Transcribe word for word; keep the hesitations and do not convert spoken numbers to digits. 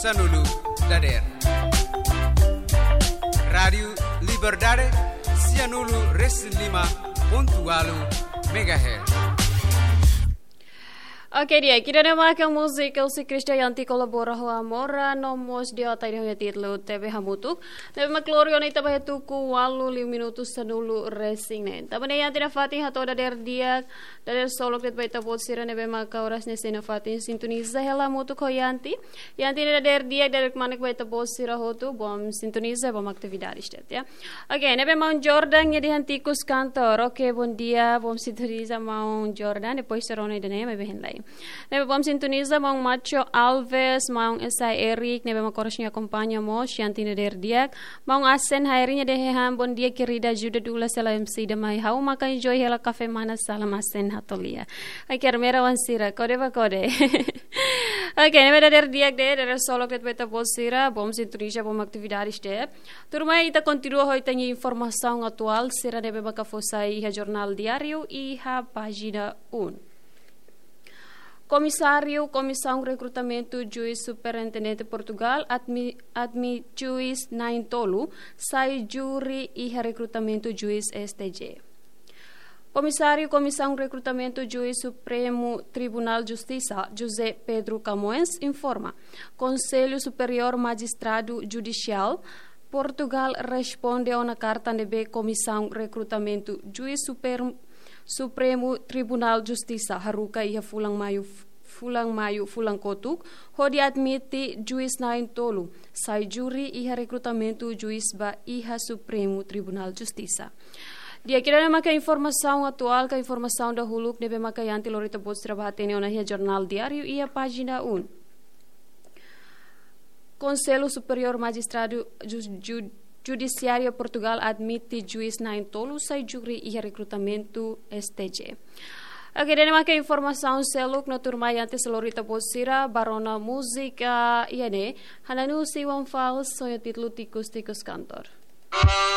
Sanulu dader. Rádiu Liberdade, sianulu resin lima pontu walu megahertz. Oke, di'ak, ida-ne'e maka múzika husi Christian Yanti kolabora ho Amora, no mós di'ak, ida-ne'e ho títulu Tebe Hamutuk. Ne'ebé mak lori ona ita ba iha tuku walu liu minutu sanulu resin neen. Tanba ne'e Yanti nafatin hato'o dader di'ak, dader solok de'it ba ita-boot sira ne'ebé maka oras ne'e sei nafatin sintoniza hela hamutuk ho Yanti. Yanti ne'e dader di'ak, dader kmanek ba ita-boot sira hotu, bom sintoniza, bom atividades de'it, ya. Oke, ne'ebé maun Jordan, nia dehan ikus kantor. Oke, bondia, bom sintoniza maun Jordan, depois sira rona ida-ne'e, maibé hein lai. Ne'ebé bom sintoniza maun Macho Alves, maun Esai Eric, ne'ebé mak oras ne'e akompaña mós, Yanti ne'e dader di'ak. Maun Asen Hairi, nia dehan bondia querida, ajuda dula sela M C ida mai ha'u maka enjoy hela kafé mana, salam Asen Hatolia. Ai, kermera wan sira, kode ba kode. Oke, ne'ebé dader di'ak de'it, dader solok de'it ba ita-boot sira, bom sintoniza, bom atividades de'it. Tuirmai ita kontinua ho ita-nia informasaun atuál sira ne'ebé maka fó sai iha Jornál Diáriu iha pájina um. Komisáriu Komisaun Rekrutamentu Juís Superintendente Portugal admi-, admite juís na'in-tolu sai júri iha rekrutamentu juís S T J. Komisáriu Komisaun Rekrutamentu Juís Supremu Tribunál Justisa, José Pedro Camões, informa Konsellu Superiór Majistradu Judisiál Portugal responde ona karta ne'ebé Komisaun Rekrutamentu Juís Super-, Supremu Tribunál Justisa haruka iha fulan Maiu, fulan Maiu, fulan kotuk, hodi admite juís na'in-tolu sai júri iha rekrutamentu juís ba iha Supremu Tribunál Justisa. Di'ak, ida-ne'e maka informasaun atuál ka informasaun dahuluk ne'ebé maka Yanti lori ita-boot sira ba hatene ona iha Jornál Diáriu iha pájina um. Konsellu Superiór Majistradu Ju-, Ju-, Judisiáriu Portugal admite juís na'in-tolu sai júri iha rekrutamentu S T J. Oke, ida-ne'e maka informasaun seluk, no tuirmai Yanti sei lori ita-boot sira ba rona múzika, ah, iha ne'e, Hananu Siwan Fals, ho títulu Tikus Tikus Kantor.